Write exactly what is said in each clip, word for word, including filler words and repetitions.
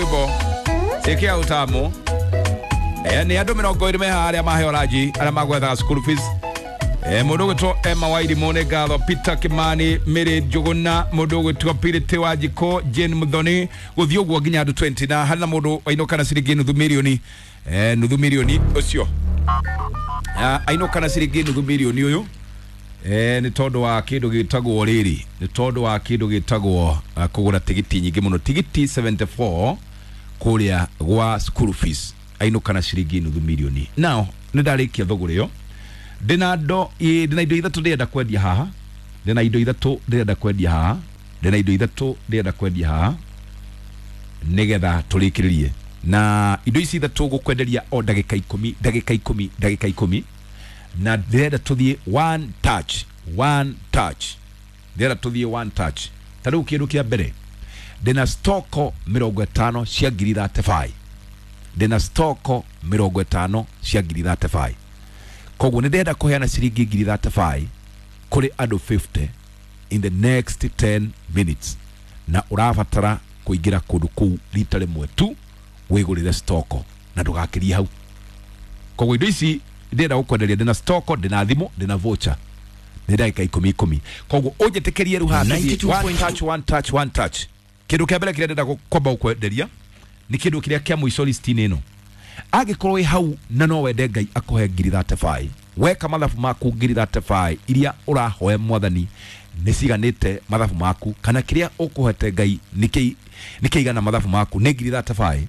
Rwimbo ĩkĩa utamu. Eh, nĩ andũ mĩrongo ĩrĩ me haha arĩa maheo ranji, arĩa magwethaga school fees. Eh, mũndũ ũgwĩtwo Emma Wairimũ nĩ ngatho, Peter Kimani, Mary Njũgũna, mũndũ ũgwĩtwo Purity Wanjikũ, Jane Muthoni, gũthiĩ ũguo nginya andũ mĩrongo ĩĩrĩ, na harĩ na mũndũ wainũka na ciringi nuthu mirioni, eh, nuthu mirioni ũcio. Ah, ainũka na ciringi nuthu mirioni ũyũ, eh, nĩ tondũ wa kĩndũ gĩtagwo rĩrĩ, nĩ tondũ wa kĩndũ gĩtagwo uh, kũgũra tigiti nyingĩ mũno, tigiti mĩrongo mũgwanja na inya kũrĩa gwa school fees, ainũka na ciringi nuthu mirioni. Now nĩ ndarĩkia thũgũrĩ ĩyo, ndĩna ndo ndĩna indo ithatũ ndĩrenda kwendia haha, ndĩna indo ithatũ ndĩrenda kwendia haha, ndĩna indo ithatũ ndĩrenda kwendia haha nĩgetha tũrĩkĩrĩrie na indo ici ithatũ gũkwenderia o ndagĩka ikũmi, ndagĩka ikũmi, ndagĩka ikũmi, na ndĩrenda tũthiĩ one touch, one touch, ndĩrenda tũthiĩ one touch. Ta rĩu kĩndũ kĩa mbere, ndĩna stoko mĩrongo ĩtano cia ngiri mĩrongo ĩtatũ na ithano, ndĩna stoko mĩrongo ĩtano cia ngiri mĩrongo ĩtatũ na ithano. Koguo nĩ ndĩrenda kũheana ciringi ngiri mĩrongo ĩtatũ na ithano kũrĩ andũ mĩrongo ĩtano in the next ten minutes, na ũrabatara kũingĩra kũndũ kũu rita rĩmwe tu wĩgũrĩre stoko na ndũgakĩrie hau. Koguo indo ici ndĩrenda gũkwenderia, ndĩna stoko, ndĩna thimũ, ndĩna voucher, nĩ ndagĩka ikũmi ikũmi. Koguo ũnjĩtĩkĩrie rĩu haha tũthiĩ one touch, one touch, one touch. Kĩndũ kĩa mbere kĩrĩa ndĩrenda kwamba gũkwenderia nĩ kĩndũ kĩrĩa kĩa mũico list-inĩ ĩno. Angĩkorwo wĩ hau na no wende Ngai akũhe ngiri mĩrongo ĩtatũ na ithano, weka mathabu maku, ngiri mĩrongo ĩtatũ na ithano iria ũrahoya mwathani nĩ ciganĩte mathabu maku, kana kĩrĩa ũkũhete Ngai nĩ kĩigana mathabu maku nĩ ngiri mĩrongo ĩtatũ na ithano,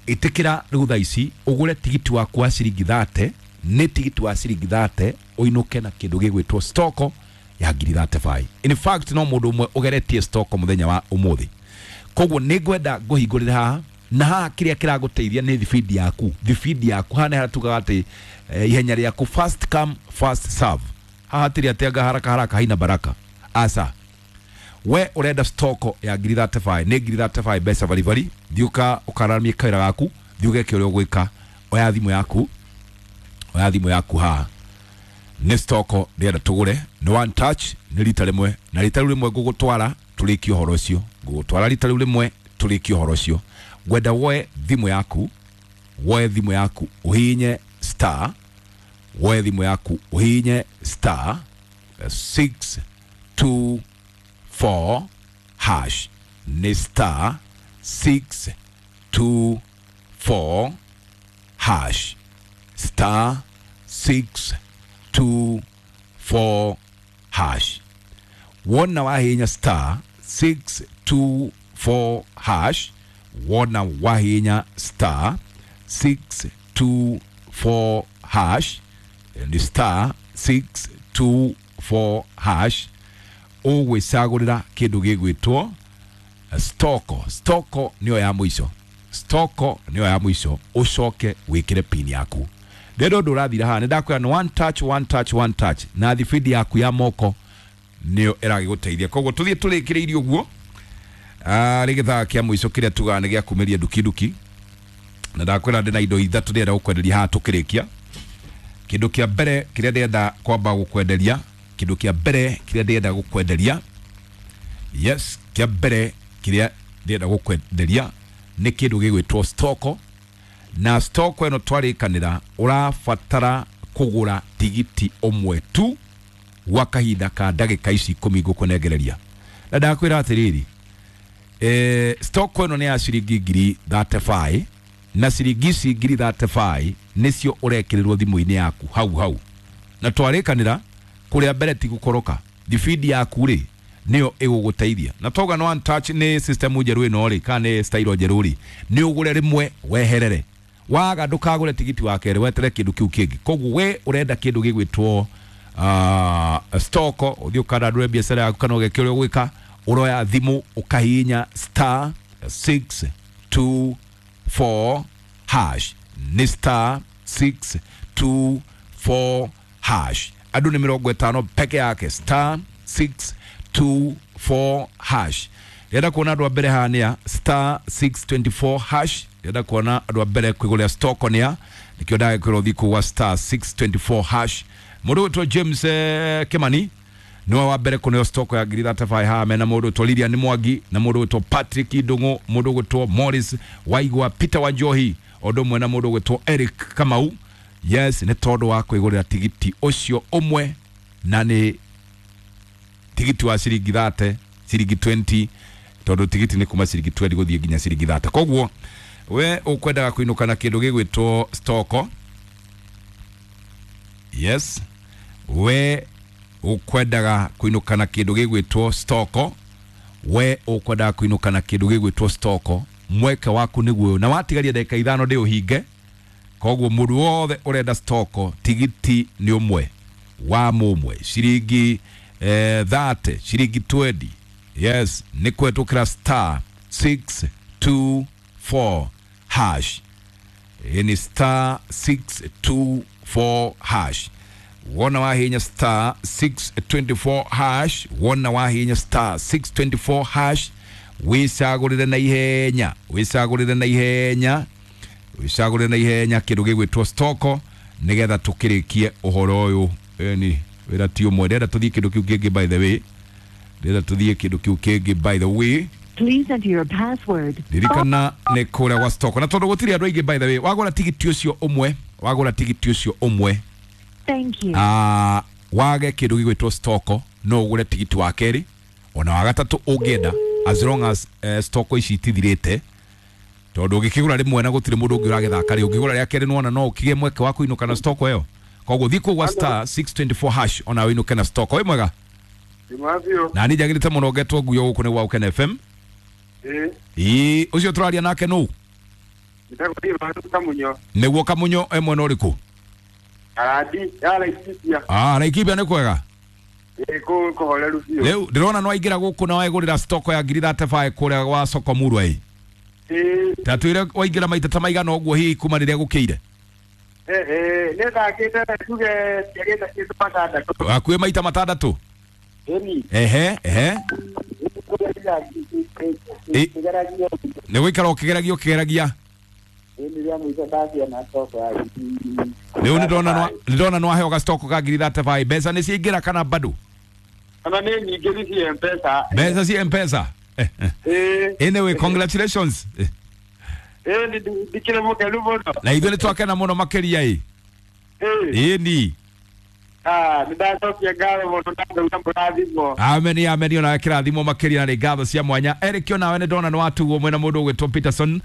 ĩtĩkĩra rĩu thaa ici ũgũre tigiti waku wa ciringi mĩrongo ĩtatũ, nĩ tigiti wa ciringi mĩrongo ĩtatũ, ũinũke na kĩndũ gĩgwĩtwo stoko ya ngiri mĩrongo ĩtatũ na ithano. In fact, no mũndũ ũmwe ũgeretie stoko mũthenya wa ũmũthĩ. Koguo nĩ ngwenda ngũhingũrĩre haha, na haha kĩrĩa kĩragũteithia nĩ thibindi yaku, thibindi yaku. Haha nĩ harĩa tugaga atĩ eh, ihenya rĩaku, first come first serve. Haha hatirĩ atĩ anga haraka haraka haina baraka, aca. We ũrenda stoko ya ngiri mĩrongo ĩtatũ na ithano, nĩ ngiri mĩrongo ĩtatũ na ithano mbeca baribari. Thiĩ ũka ũkaramie kawĩra gaku, thiĩ ũgeke ũrĩa ũgwĩka. Oya thimũ yaku, oya thimũ yaku. Haha nĩ stoko ndĩrenda tũgũre, nĩ one touch, nĩ rita rĩmwe, na rita rĩu rĩmwe ngũgũtwara tũrĩkie ũhoro ũcio, ngũgũtwara rita rĩu rĩmwe tũrĩkie ũhoro ũcio. Ngwenda woe thimũ yaku, woe thimũ yaku ũhihinye star, woe thimũ yaku ũhihinye star six two four hash, nĩ star six two four hash, star six two four hash. Wona wahinya star six two four hash, wona wahinya star six two four hash, ni star six two four hash, ũgwĩcagũrĩra kĩndũ gĩgwĩtwo stoko. Stoko nĩyo ya mũico, stoko nĩyo ya mũico, ũcoke wĩkĩre pin yaku. Ndĩrenda ũndũ ũrathira haha, nĩ ndakwĩra nĩ one touch, one touch, one touch, na thibindi yaku ya moko nĩyo ĩragĩgũteithia. Koguo tũthiĩ tũrĩkĩrĩirie ũguo rĩ gĩthaa kĩa mũico kĩrĩa tugaga nĩ gĩa kumĩria nduki nduki, na ndakwĩra ndĩna indo ithatũ ndĩrenda gũkwenderia haha tũkĩrĩkia. Kĩndũ kĩa mbere kĩrĩa ndĩrenda kwamba gũkwenderia, kĩndũ kĩa mbere kĩrĩa ndĩrenda gũkwenderia, yes, kĩa mbere kĩrĩa ndĩrenda gũkwenderia nĩ kĩndũ gĩgwĩtwo stoko. Na stoko ĩno twarĩkanĩra ũrabatara kũgũra tigiti ũmwe tu gwa kahinda ka ndagĩka ici ikũmi ngũkũnengereria. Na ndakwĩra atĩrĩrĩ, eh, stoko ĩno nĩ ya ciringi ngiri mĩrongo ĩtatũ na ithano, na ciringi ici ngiri mĩrongo ĩtatũ na ithano nĩcio ũrekĩrĩrwo thimũ-inĩ yaku hau hau. Na twarĩkanĩra kũrĩa mbere ti gũkoroka, thibindi yaku rĩ nĩyo ĩgũgũteithia. Na twauga no one touch, nĩ system njerũ ĩno rĩ, kana nĩ style njerũ rĩ, nĩ ũgũre rĩmwe weherere, waga ndũkagũre tigiti wa kerĩ, wetere kĩndũ kĩu kĩngĩ. Koguo we ũrenda kĩndũ gĩgwĩtwo uh, stoko, ũthiĩ ũkandandũre biacara yaku kana ũgeke ũrĩa ũgwĩka, ũroya thimũ ũkahihinya star six two four hash, nĩ star six two four hash. Andũ nĩ mĩrongo ĩtano peke yake, star six two four hash. Ndĩrenda kuona andũ a mbere haha nĩa star six twenty four hash. Ndĩrenda kuona andũ a mbere kwĩgũrĩra stoko nĩa, nĩkĩo ndagĩkwĩra ũthiĩ kũu gwa star six twenty four hash. Mũndũ gwĩtwo James eh, Kimani Niwe wa mbere kuneo stoko ya ngiri thirty-five haha mena mundu witwo Lilian Mwangi na mundu witwo Patrick Ndungu, mundu witwo Morris Waigwa, Peter Wanjohi, undu umwe na mundu witwo Eric Kamau. Yes, ni tondu wa kwigurira tigiti ucio umwe na ni tigiti wa ciringi thirty, ciringi twenty, tondu tigiti ni kuma ciringi twenty guthie nginya ciringi thirty. Koguo we ukwendaga kuinuka na kindu gigwitwo stoko. Yes, we ukwendaga kuinuka na kindu gigwitwo stoko, we ukwendaga kuinuka na kindu gigwitwo stoko, mweke waku niguo na watigaria ndagika ithano ndi uhinge. Koguo mundu wothe urenda stoko tigiti ni umwe wa mumwe ciringi eh, thirty, ciringi twenty. Yes, ni kwetukira star six two four hash. Ni star six two four hash. Wona wahinya star six twenty-four hash, wona wahinya star six twenty-four hash, wicagurire na ihenya, wicagurire na ihenya, wicagurire na ihenya kindu gigwitwo stoko nigetha tukirikie uhoro uyu. Ni wira ti umwe, ndenda tuthie kindu kiu kingi, by the way, ndenda tuthie kindu kiu kingi, by the way. Please enter your password. Ririkana ni kuria gwa stoko na tondu gutiri andu aingi, by the way, wagura tigiti ucio umwe, wagura tigiti ucio umwe. Thank you. Ah, wage kindu gigwitwo stoko no ugure tigiti wa keri ona wa gatatu ungienda, as long as uh, stoko ici itithirite, tondu ungikigura rimwe na gutiri mundu ungi uragithaka ri, ungigura ria keri nona no ukigie mweke wa kuinuka na stoko iyo. Koguo thiĩ kũu gwa star six twenty-four hash ona winuke na stoko. Wi mwega na ni njagirite muno ngetwo nguyo guku ni gwa Ukene F M. Ĩĩ ii ucio turaria nake nu? Kamunyo. Niguo Kamunyo e mwena uriku? Aradi ya Laikipia. Ah, Laikipia ni kwega? Ĩĩ kũ kũhoreru biũ. Rĩu ndĩrona no waingĩra gũkũ na waigũrĩra stoko ya ngiri thirty-five kũrĩa gwa soko Murwa ĩ. Ĩĩ. Tatwĩre waingĩra maita ta maigana ũguo hihi kuma rĩrĩa gũkĩire? Eh eh nĩ thakĩte tuge ndiagĩte kĩndũ matandatũ. Hakuhĩ maita matandatũ? Ĩni. Ehe ehe. Nĩ gũikara ũkĩgeragia ũkĩgeragia. Rĩu nĩndona nĩndona nĩwaheo gastoko ka ngiri thirty-five. Mbeca nĩ ciaingĩra kana bado? Kana nĩ nyingĩ nĩ cia M-Pesa. Mbeca cia M-Pesa? Ĩĩ. Anyway, congratulations. Ĩĩ ndikĩrĩ mũkenu mũno. Na ithuĩ nĩtwakena mũno makĩria ĩ. Ĩĩ. Ĩni. Ah, nĩndacokia ngatho mũno na ndauga mũrathimwo. Amen, amen, ona kĩrathimo makĩria na ngatho cia mwanya. Eric onawe nĩndona nĩwatugwo mwena mũndũ ũgwĩtwo Peterson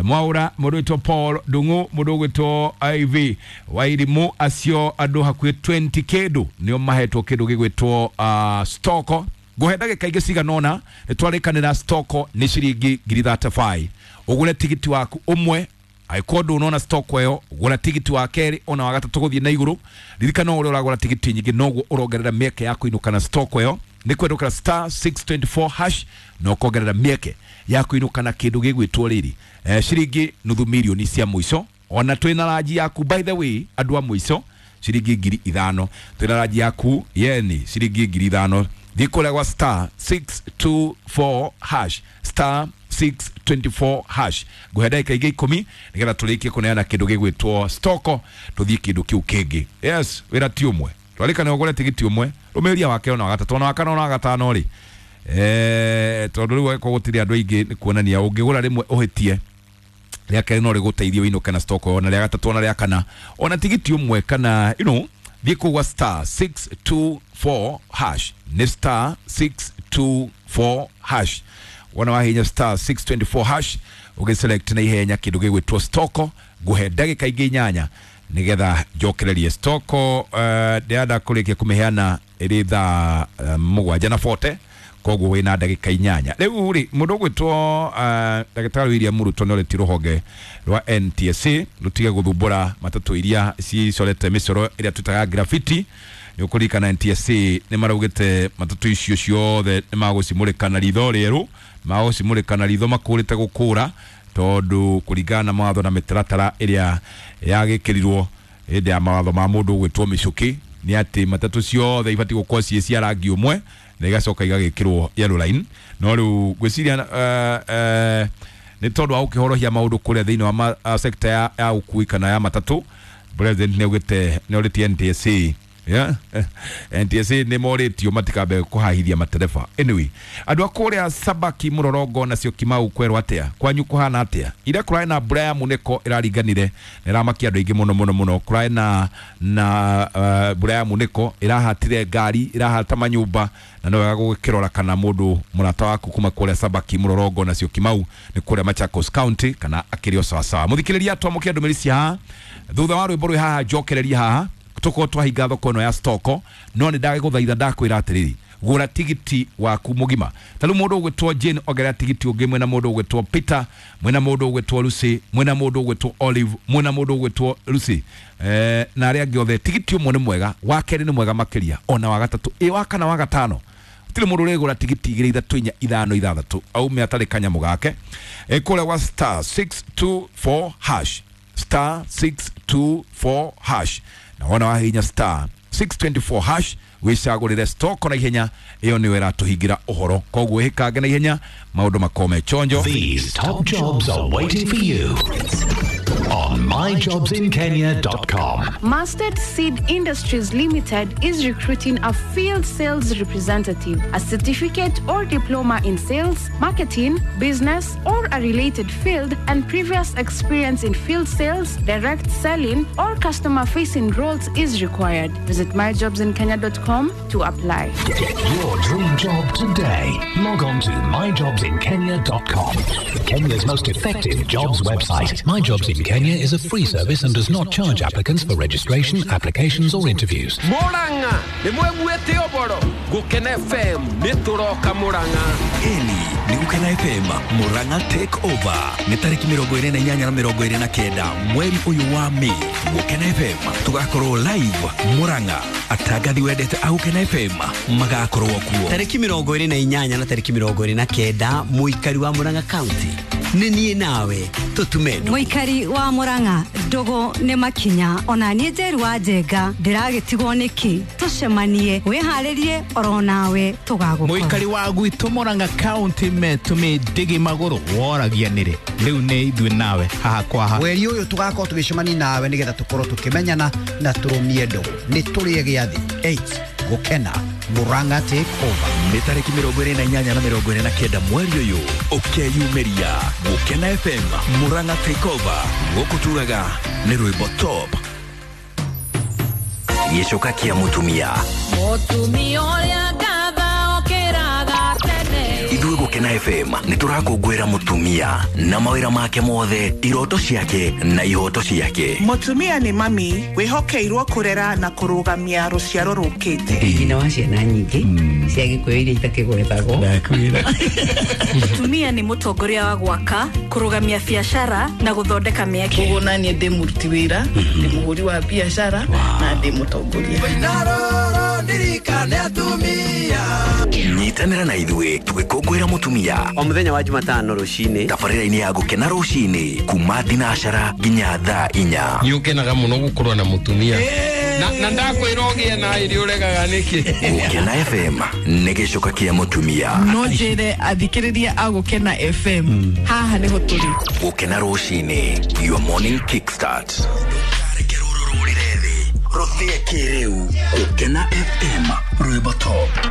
Mwaura, mũndũ ũgwĩtwo Paul Ndung'u, mũndũ ũgwĩtwo Iv Wairimu, acio andũ hakuhĩ twenty kĩndũ nĩo mahetwo kĩndũ gĩgwĩtwo uh, stoko. Ngũhe ndagĩka ingĩ cigana ũna nĩtwarĩkanĩra stoko nĩ ciringi ngiri thirty-five. Ũgũre tigiti waku ũmwe, angĩkorwo ndũnona stoko ĩyo gũra tigiti wa kerĩ ona wa gatatũ gũthiĩ na igũrũ. Ririkana ũrĩa ũragũra tigiti nyingĩ noguo ũrongerera mĩeke ya kũinũka na stoko ĩyo. Nĩ kwendũkĩra star six twenty-four hash na ũkongerera mĩeke ya kũinũka na kĩndũ gĩgwĩtwo rĩrĩ eh, ciringi nuthu mirioni cia mũico. Ona twĩna ranji yaku, by the way, andũ a mũico ciringi ngiri ithano, twĩna ranji yaku yeni ciringi ngiri ithano. Thiĩ kũrĩa gwa star six two four hash, star six twenty-four hash. Ngũhe ndagĩka ingĩ ikũmi nĩgetha tũrĩkie kũneana kĩndũ gĩgwĩtwo stoko tũthiĩ kĩndũ kĩu kĩngĩ. Yes, wĩra ti ũmwe, twarĩkana ũgũre tigiti ũmwe, rũmĩrĩria wa kerĩ ona wa gatatũ ona wa kana ona wa gatano rĩ, eh, tondũ rĩu angĩkorwo gũtirĩ andũ aingĩ nĩ kuonania ũngĩgũra rĩmwe ũhĩtie, rĩa kerĩ no rĩgũteithie ũinũke na stoko, ona rĩa gatatũ ona rĩa kana ona tigiti ũmwe kana you know, thiĩ kũu gwa star six two four hash, nĩ star six two four hash. Wona wahinya star six twenty-four hash ũgĩselect na ihenya kĩndũ gĩgwĩtwo stoko. Ngũhe ndagĩka ingĩ inyanya nĩgetha njokererie stoko. uh, ndĩrenda kũrĩkia kũmĩheana ĩrĩ thaa uh, mũgwanja na forty, koguo wĩna ndagĩka inyanya. Rĩu rĩ mũndũ ũgwĩtwo uh, ndagĩtarĩ William Ruto nĩorĩtie rũhonge rwa N T S A rũtige gũthumbũra matatũ iria cicorete mĩcoro ĩrĩa twĩtaga graffiti. Nĩ ũkũririkana N T S A nĩ maraugĩte matatũ icio ciothe nĩ magũcimũrĩka na ritho rĩerũ, magũcimũrĩka na ritho makũrĩte gũkũra, tondũ kũringana na mawatho na mĩtaratara ĩrĩa yagĩkĩrirwo hĩndĩ ya mawatho ma mũndũ ũgwĩtwo Mĩcũkĩ nĩ atĩ matatũ ciothe ibatiĩ gũkorwo ciĩ cia rangi ũmwe na igacoka igagĩkĩrwo yellow line. No rĩu ngwĩciria uh, uh, nĩ tondũ wa gũkĩhorohia maũndũ kũrĩa thĩinĩ wa uh, sector ya, ya ũkui kana ya matatũ, president nĩ augĩte nĩ orĩtie N T S A Yeah. N T S A nä morä tio matikambe kå hahithia matereba. Anyway, andå a kå rä a Sabaki Mũrorongo nacio Kimau kwerwo atä a kwanyu kå hana atä a ira kå rarä na mbura ya muneko ä raringanire na ĩramakia andå aingä må no må no må no. Kå rarä na na uh, mbura ya muneko ĩrahatire ngari, ĩrahata manyũmba, na no wega gũgĩkĩrora kana mũndũ mũrata waku kuma kũrĩa Sabaki Mũrorongo nacio Kimau nĩ kũrĩa Machakos County kana akĩrĩ o sawasawa. Mũthikĩrĩria twamũkĩra ndũmĩrĩri cia haha thutha wa rwĩmbo rwĩ haha njokereria haha tukorwo twahinga thoko ĩno ya stoko no nĩ ndagũthaitha ndakwĩra atĩrĩrĩ gũra tigiti waku mũgima. Ta rĩu mũndũ ũgwĩtwo Jane ongerera tigiti ũngĩ, mwĩna mũndũ ũgwĩtwo Peter, mwĩna mũndũ ũgwĩtwo Lucy, mwĩna mũndũ ũgwĩtwo Olive, mwĩna mũndũ ũgwĩtwo Lucy eh, na arĩa angĩ othe. Tigiti ũmwe nĩ mwega, wa kerĩ nĩ mwega makĩria, ona wa gatatũ, ĩ wa kana wa gatano gũtirĩ mũndũ ũrĩgũra tigiti igĩrĩ ithatũ inya ithano ithathatũ aume atarĩ kanyamũ gake. Ĩ kũrĩa wa star six two four hash, star six two four hash, na wona wahihinya star six two four hash wicagũrĩre stock na ihenya ĩyo nĩyo ĩratũhingĩra ũhoro, koguo ĩkange na ihenya maũndũ makome chonjo. These top jobs are waiting for you on my jobs in kenya dot com. Mustard Seed Industries Limited is recruiting a field sales representative, a certificate or diploma in sales, marketing, business, or a related field, and previous experience in field sales, direct selling, or customer-facing roles is required. Visit my jobs in kenya dot com to apply. Get your dream job today. Log on to my jobs in kenya dot com. Kenya's most effective jobs website. My Jobs in Kenya is a free service and does not charge applicants for registration, applications or interviews. Murang'a nĩ mweguĩte ũboro Gũkena F M nĩ tũroka Murang'a. Ĩni nĩ Gũkena F M Murang'a take over nĩ tarĩki mĩrongo ĩrĩ na inyanya na mĩrongo ĩrĩ na kenda mweri ũyũ wa Mĩĩ. Gũkena F M tũgakorwo live Murang'a, atangathi wendete a Gũkena F M magakorwo kuo tarĩki mĩrongo ĩrĩ na inyanya na tarĩki mĩrongo ĩrĩ na kenda. Mũikari wa Murang'a County nĩ niĩ nawe tũtume ndũgũ. Mũikari wa Murang'a ndũgũ nĩ makinya, ona niĩ Njeru wa Njenga ndĩragĩtigwo nĩkĩ, tũcemanie wĩharĩrie oro nawe tũgagũkora. Mũikari wa gwitũ Murang'a County metũmĩ ndĩgĩ magũrũ woragia nĩrĩ rĩu nĩ ithuĩ nawe haha kwa haha. Mweri ũyũ tũgakorwo tũgĩcemania nawe nĩgetha tũkorwo tũkĩmenyana na tũrũmie ndũgũ. Nĩ tũrĩe gĩathĩ eight Gũkena Murang'a take over nĩ tarĩki mĩrongo ĩrĩ na inyanya na mĩrongo ĩrĩ na kenda mweri ũyũ ũkeyumĩria Gũkena F M Murang'a take over gũkũ turaga nĩ rwĩmbo top gĩcoka kĩa mũtumia mũtumia ũrĩa ngatha okĩraga tene. Ithuĩ Gũkena F M nĩ tũrakũngũĩra mũtumia na mawĩra make mothe, iroto ciake na ihoto ciake. Mũtumia nĩ mami wĩhokeirwo kũrera na kũrũgamia rũciaro rũkĩte. Nyina wa ciana nyingĩ cia Gĩkũyũ iria itakĩgwetagwo. Mũtumia nĩ mũtongoria wa gwaka, kũrũgamia biacara na gũthondeka mĩeke. Koguo naniĩ ndĩ mũruti wĩra, ndĩ mũhũri wa biacara na ndĩ mũtongoria. Nyitanĩra na ithuĩ tũgĩkũngũĩra mũtumia o mũthenya wa Jumatano rũcinĩ tabarĩra-inĩ ya Gũkena rũcinĩ kuma thinacara nginya thaa inya. Nĩ ũkenaga mũno gũkorwo na mũtumia na na ndakwĩra ũgĩe na ĩrĩ ũregaga nĩkĩ. Gũkena F M nĩ gĩcoka kĩa mũtumia. No njĩre athikĩrĩria a Gũkena F M haha nĩho tũrĩ. Gũkena rũcinĩ, your morning kickstart. Rũrũ rũrĩre thĩ rũthĩe kĩrĩu. Gũkena F M rwĩmbo top.